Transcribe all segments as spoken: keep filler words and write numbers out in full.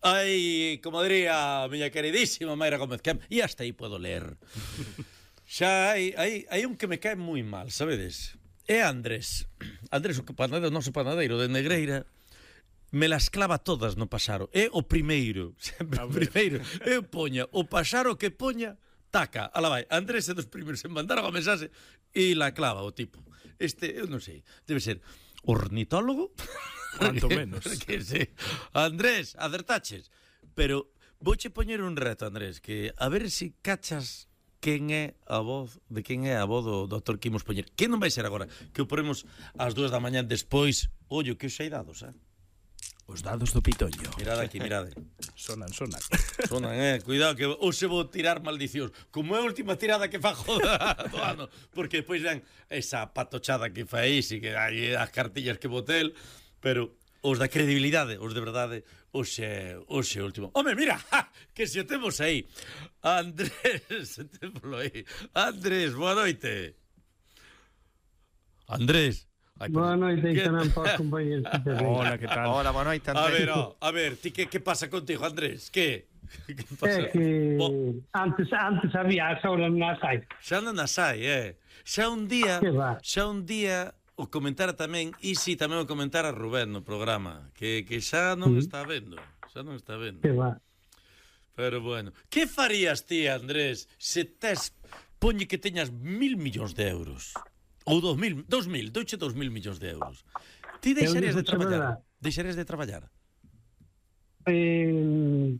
Ai, como diría a miña queridísima Mayra Gómez Camp, e hasta aí podo ler. Xa hai, hai, hai un que me cae moi mal, sabedes? É Andrés. Andrés, o que panadeiro, o noso panadeiro de Negreira, me las clava todas no paxaro. É o primeiro, sempre o primeiro. Eu poña, o paxaro que poña, taca, ala vai. Andrés é dos primeiros en mandar a mensaxe e la clava o tipo. Este, eu non sei, debe ser ornitólogo? Cuanto menos. Que sí. Andrés, acertaches. Pero vouche poñer un reto, Andrés, que a ver se si cachas quen é a voz, de quen é a voz do doutor que imos poñer. Que non vai ser agora, que o poremos ás dúas da mañá despois. Ollo, que os hai dados, eh? Os dados do Pitoño. Mirad aquí, mirade. Sonan, sonan. Sonan, eh. Cuidado que hoxe vou tirar maldicións. Como é a última tirada que fajo do ano. Porque depois dan esa patochada que fai e que hai as cartillas que botel. Pero os da credibilidade, os de verdade, hoxe, hoxe último. Home, mira, ja, que se o temos aí. Andrés, témolo aí. Andrés, boa noite. Andrés. Ay, boa noite, que non posso compañeros. Hola, que tal? Hola, boa noite, Andrés. A ver, oh, a ver, ti que, que pasa contigo, Andrés? Que? Que pasa? É que Bo... antes antes había, ahora non as hai. Xa non as hai, eh. Xa un día, xa un día o comentara tamén, e si tamén o comentara Rubén no programa, que, que xa non sí. está vendo, xa non está vendo. Que va. Pero bueno, que farías ti, Andrés, se tes, poñe que teñas mil millóns de euros? Ou dos mil, dos mil, douche dos mil millóns de euros. Ti deixarías de traballar? Deixarías de traballar? Eh,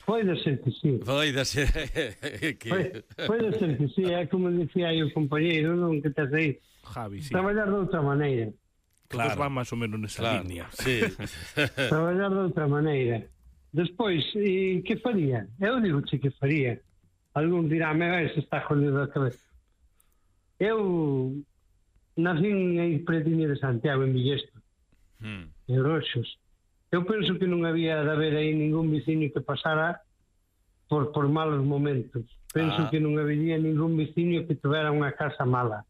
pode ser que sí. Pode ser que... Pode, pode ser que sí, é como dicía aí o compañeiro, non que tes aí. Javi, sí. Traballar de outra maneira. Todos claro. van máis ou menos nesa claro, línea. Sí. Traballar de outra maneira. Despois, e que faría? Eu digo che que faría. Algún dirá, me vai se está jodido a cabeza. Eu nací en Pretiño de Santiago, en Villesto, hmm. en Roxos. Eu penso que non había de haber aí ningún veciño que pasara por, por malos momentos. Penso ah. que non había ningún veciño que tivera unha casa mala.